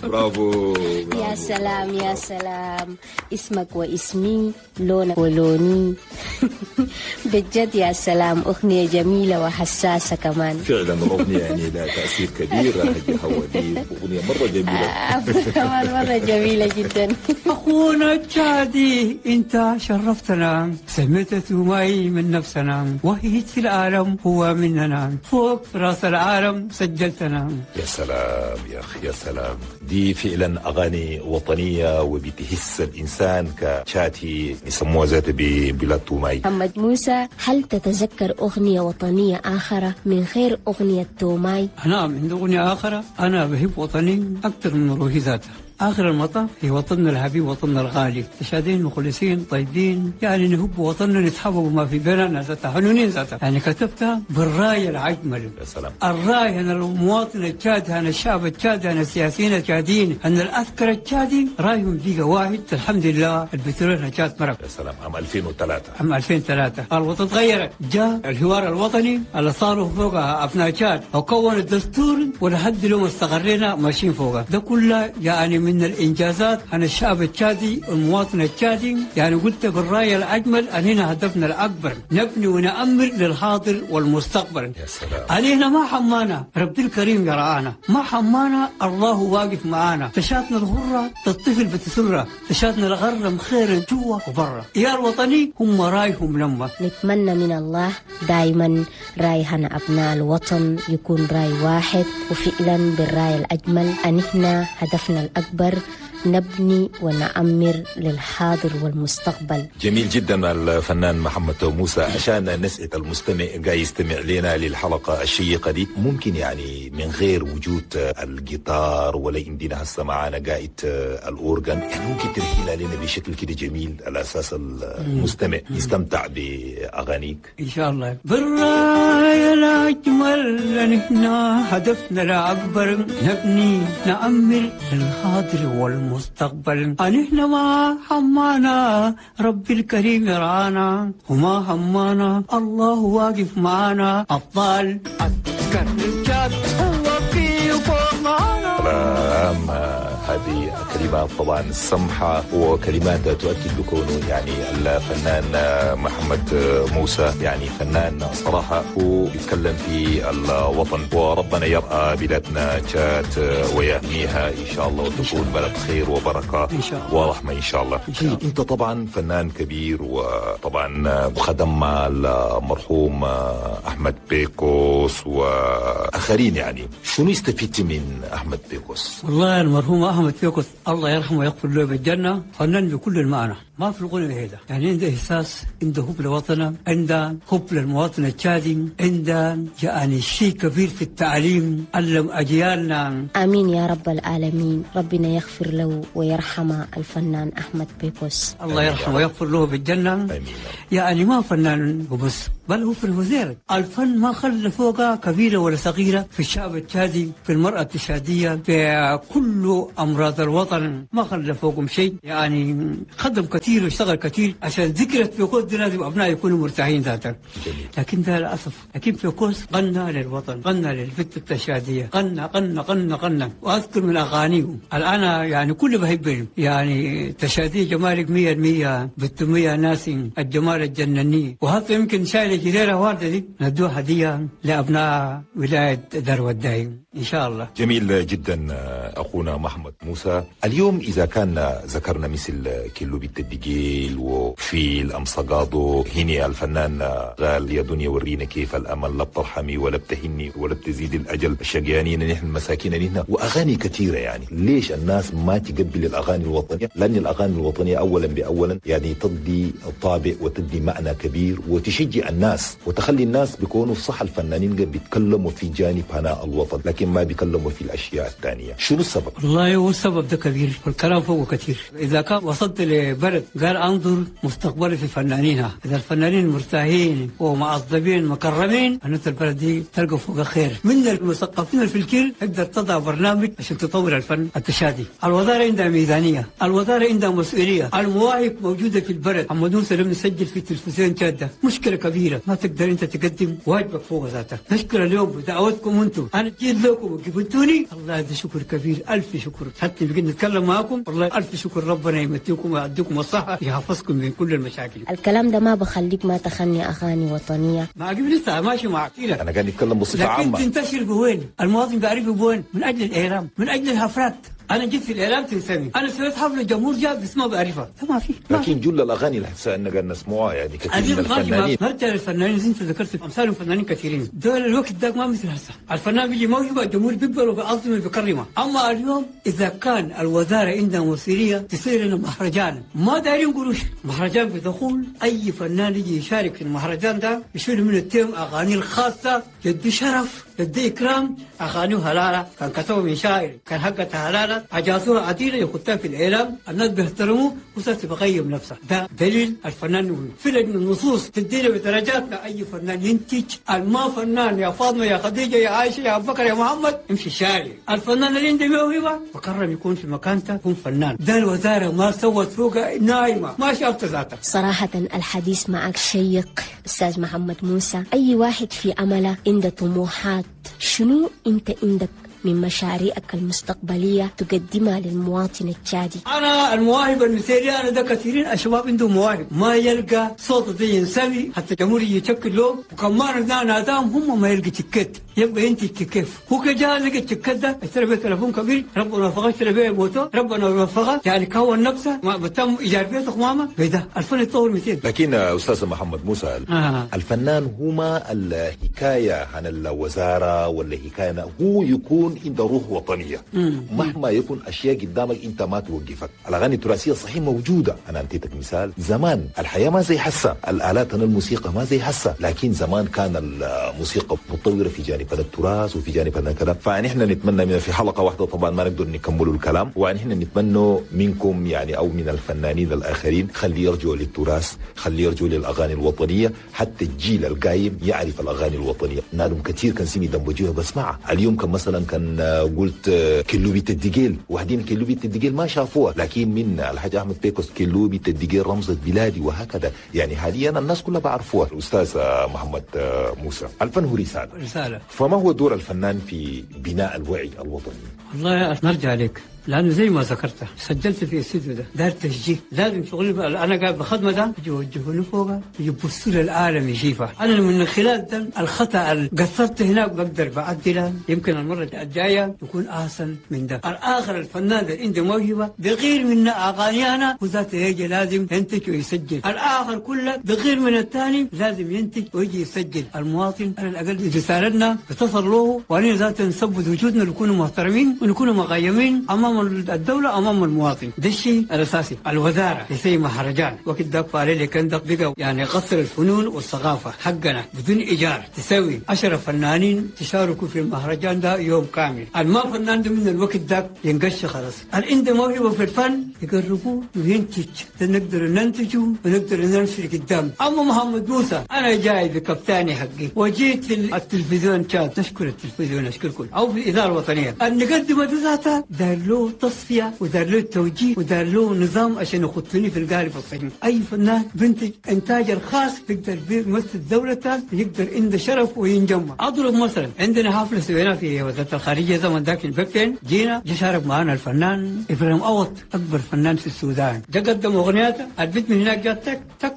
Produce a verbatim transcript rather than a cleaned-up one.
برافو. يا سلام يا سلام، اسمك واسمي، لونك ولوني. بجد يا سلام، أغنية جميلة وحساسة كمان. فعلا الأغنية يعني لها تأثير كبير. هدي هودي أغنية مرة جميلة. كمان مرة جميلة جدا. أخونا التشادي أنت شرفتنا، سميت توماي من نفسنا، وهيت في العالم هو مننا، فوق في راس العالم سجلتنا. يا سلام يا أخي، يا سلام. دي فعلا أغاني وطنية وبتهس الإنسان كتشادي، يسموها ذات ببلاد توماي. محمد موسى، هل تتذكر أغنية وطنية آخرى من غير أغنية توماي؟ نعم، عندي أغنية آخرى. أنا بحب وطني أكثر من روحي ذاتها. آخر المطاف هي وطننا الحبيب، وطننا الغالي. تشادين مخلصين طيبين، يعني نحب وطننا، نتحبب ما في بيننا ذاتها، حنونين ذاتها. يعني كتبتها بالراي الأجمل. يا سلام. الراي أن المواطن التشادي، أن الشعب التشادي، أن السياسيين التشاديين، أن العسكر التشادي رايهم دقيقة واحد. الحمد لله البترول جات مرق. يا سلام. عام ألفين وثلاثة. عام ألفين وثلاثة الوطن تغيرت، جاء الحوار الوطني اللي صاروا فوقها أبناء تشاد وكون الدستور، ولحد اليوم استقرينا ماشيين فوقها. ده كله يعني من من الإنجازات عن الشعب التشادي والمواطن التشادي. يعني قلت بالرأي الأجمل أننا هدفنا الأكبر نبني ونأمر للحاضر والمستقبل. يا سلام. علينا ما حمانا ربي الكريم يرعانا، ما حمانا الله واقف معانا. تشاتنا الغرة تطفل بتسرة، تشاتنا الغرة مخير جوا وبرا. يا الوطني هم رايهم لما نتمنى من الله دائما رايهنا أبناء الوطن يكون راي واحد، وفعلا بالراي الأجمل أن إحنا هدفنا الأكبر نبني ونعمر للحاضر والمستقبل. جميل جدا الفنان محمد موسى. عشان نسعد المستمع قاعد يستمع لنا للحلقة الشيقة دي، ممكن يعني من غير وجود الجيتار ولا عندنا هسه معانا قاعد الأورجان، يعني ممكن ترحيلها لنا بشكل كده جميل على أساس المستمع يستمتع بأغانيك إن شاء الله. بالراية الأجمل نحن هدفنا الأكبر نبني نعمر للحاضر والمستقبل. مستقبل نحن ما حمانا ربي الكريم يرعانا، وما همانا الله واقف معانا. أبطال أذكر الجاد هو في فوق معانا. سلام. هذه كلمات طبعا سمحة وكلمات تؤكد بكونه يعني الفنان محمد موسى يعني فنان صراحة هو يتكلم في الوطن، وربنا يرأى بلادنا تشاد ويهنيها إن شاء الله وتكون بلد خير وبركة إن شاء الله ورحمة إن شاء الله. إن شاء الله. أنت طبعا فنان كبير وطبعا خدم مع المرحوم أحمد بيكوس وآخرين، يعني شنو استفدت من أحمد بيكوس؟ والله المرحوم أحمد بيكوس الله يرحمه ويغفر له بالجنة، فنان بكل المعنى، ما في الغنى هذا. يعني عنده إحساس، عنده حب لوطنه، عنده حب للمواطن التشادي، عنده يعني شيء كبير في التعليم، علم أجيالنا. آمين يا رب العالمين، ربنا يغفر له ويرحم الفنان أحمد بيكوس. الله يرحمه ويغفر له بالجنة. آمين. يعني ما فنان وبس، بل هو في الوزير. الفن ما خلى فوقه كبيرة ولا صغيرة في الشعب التشادي، في المرأة التشادية، في كل أمراض الوطن، ما خلى فوقهم شيء. يعني خدم كثير واشتغل كثير عشان ذكرى بيكوس دي لازم أبناء يكونوا مرتاحين ذاتك. لكن ده للأسف، لكن بيكوس غنى للوطن، غنى للفتة التشادية، غنى غنى غنى غنى. وأذكر من أغانيهم الآن يعني كل بحبهم، يعني تشادية جمالك مية المية بالتمية ناسي الجمال الجنني. وهذا يمكن شايل جديرة واردة دي ندوها هدية لأبناء ولاية دار ودايم إن شاء الله. جميل جدا أخونا محمد موسى. اليوم إذا كان ذكرنا مثل كيلو بيت الدجيل وفيل أم صقادو، هني الفنان قال يا دنيا ورينا كيف الأمل، لا بترحمي ولا بتهني ولا بتزيد الأجل، الشقيانين نحن المساكين نحن، وأغاني كثيرة. يعني ليش الناس ما تقبل الأغاني الوطنية؟ لأن الأغاني الوطنية أولا بأولا يعني تدي طابع وتدي معنى كبير وتشجع الناس وتخلي الناس بيكونوا صح. الفنانين بيتكلموا في جانب هناء الوطن لكن ما بيتكلموا في الأشياء الثانية. شنو السبب؟ والله هو السبب ده كبير والكلام فوقه كثير. إذا كان وصلت لبلد البلد قال انظر مستقبلي في فنانينها، اذا الفنانين مرتاحين ومعظمين مكرمين معناته البلد دي تلقى فوق خير. من المثقفين في الكل تقدر تضع برنامج عشان تطور الفن التشادي. الوزارة عندها ميزانية، الوزارة عندها مسؤولية، المواهب موجودة في البلد. محمد موسى لم نسجل في التلفزيون جاده مشكلة كبيرة، ما تقدر انت تقدم واجبك فوق ذاتك. نشكر اليوم بدعوتكم انتم، انا جيت لكم وجبتوني، الله ده شكر كبير، الف شكر. حتى بقيت نتكلم معاكم والله الف شكر، ربنا يمتيكم ويعديكم الصحة يحفظكم من كل المشاكل. الكلام ده ما بخليك ما تغني اغاني وطنية. ما عجب لسه ماشي مع كثير. انا قاعد نتكلم بصفة لكن عامة. تنتشر بوين؟ المواطن بيعرف بوين؟ من اجل الاعلام، من اجل الحفلات. انا جيت في الاعلام تنسمي، انا سويت حفلة الجمهور جاب بس ما بعرفها، ما في ما لكن جل الاغاني اللي هسه قاعد نسمعها يعني كثير من عزيز ماشي الفنانين. نرجع للفنانين زي انت ذكرت امثال فنانين كثيرين، دول الوقت ده ما مثل هسه، الفنان بيجي موهبة الجمهور بيقبله وبيعظمه وبيكرمه، اما اليوم اذا كان الوزارة عندها مسؤولية تصير لنا مهرجان، ما دايرين قروش، مهرجان بدخول اي فنان يجي يشارك في المهرجان ده يشيل من التيم اغاني الخاصة، يدي شرف يدي اكرام، اغانيه هلاله كان كتبه من شاعر كان حقتها هلاله اجازوها عديله يخطها في الاعلام، الناس بيحترموه وسات بقيم نفسه، ده دليل الفنان. في لجنة النصوص تدينا بدرجاتنا اي فنان ينتج، الما فنان يا فاطمة يا خديجة يا عائشة يا ابو بكر يا محمد امشي الشارع، الفنان اللي عنده موهبة بكرم يكون في مكانته يكون فنان. ده الوزارة ما سوت فوق نايمة ما شافت ذاتها. صراحة الحديث معك شيق أستاذ محمد موسى. أي واحد في أمله عنده طموحات، شنو أنت عندك من مشاريعك المستقبلية تقدمها للمواطن التشادي؟ انا المواهب المثالية انا ده كثيرين الشباب عندهم مواهب ما يلقى صوت زي ينسمي حتى الجمهور يشكل له، وكمان ناداهم هم ما يلقى تكت، يبقى انت كيف هو كجا لقى التكت ده اشترى بيه تليفون كبير ربنا وفقه، اشترى بيه موتور ربنا وفقه، يعني كون نفسه ما بتم ايجار بيته ماما بده الفن يتطور مئتين. لكن استاذ محمد موسى آه. الفنان هما الحكاية عن الوزارة ولا حكاية، هو يكون عنده روح وطنية. مم. مهما يكون اشياء قدامك انت ما توقفك. الاغاني التراثية صحيح موجودة، انا انتيتك مثال زمان الحياة ما زي حسه، الالات الموسيقى ما زي حسه، لكن زمان كان الموسيقى متطورة في جانب التراث وفي جانب كذا. فنحن نتمنى من في حلقة واحدة طبعا ما نقدر نكمل الكلام، ونحن نتمنى منكم يعني او من الفنانين الاخرين خلي يرجعوا للتراث، خلي يرجعوا للاغاني الوطنية، حتى الجيل القايم يعرف الاغاني الوطنية. نادم كثير كان سمي دمبجوها بسمعها اليوم، كان مثلا كان قلت كلو بيت الدقيل، وحدين كلو بيت الدقيل ما شافوها، لكن من الحاج احمد بيكوس كلو بيت الدقيل رمزة بلادي وهكذا. يعني حاليا الناس كلها بعرفوها. الاستاذ محمد موسى، الفن هو رسالة، رسالة. فما هو دور الفنان في بناء الوعي الوطني؟ والله نرجع لك لانه زي ما ذكرت سجلت في الاستوديو ده دار تسجيل، لازم شغلي انا قاعد بخدمة ده يوجهوني فوق يبصوا للعالم يشوفها. انا من خلال ده الخطا اللي قصرت هناك بقدر بعدله، يمكن المرة الجاية يكون احسن من ده. الاخر الفنان اللي عنده موهبة بغير من اغاني انا وذاته يجي لازم ينتج ويسجل، الاخر كله بغير من الثاني لازم ينتج ويجي يسجل. المواطن على الاقل رسالتنا بتصل له، وانا ذاته نثبت وجودنا نكون محترمين ونكون مقيمين امام الدولة أمام المواطن. ده الشيء الأساسي. الوزارة زي مهرجان وقت داك فعلي كان بقى يعني قصر الفنون والثقافة حقنا بدون إيجار، تسوي عشرة فنانين تشاركوا في المهرجان ده يوم كامل. الما فنان ده من الوقت داك ينقش خلاص، اللي عنده موهبة في الفن يقربوه وينتج، نقدر ننتجه ونقدر نمشي قدام. أما محمد موسى أنا جاي بكفتاني حقي وجيت في التلفزيون شات، نشكر التلفزيون نشكركم أو في الإذاعة الوطنية أن نقدم ذاتها دار له تصفية ودار له توجيه ودار له نظام عشان يخطني في القالب الصحيح. أي فنان بنتج إنتاج الخاص بيقدر بيمثل دولته، يقدر عنده شرف وينجمع. أضرب مثلا عندنا حفلة سويناها في وزارة الخارجية زمن ذاك البكتين، جينا جه شارك معنا الفنان إبراهيم أوط أكبر فنان في السودان، جا قدم أغنياته، البيت من هناك جات تك تك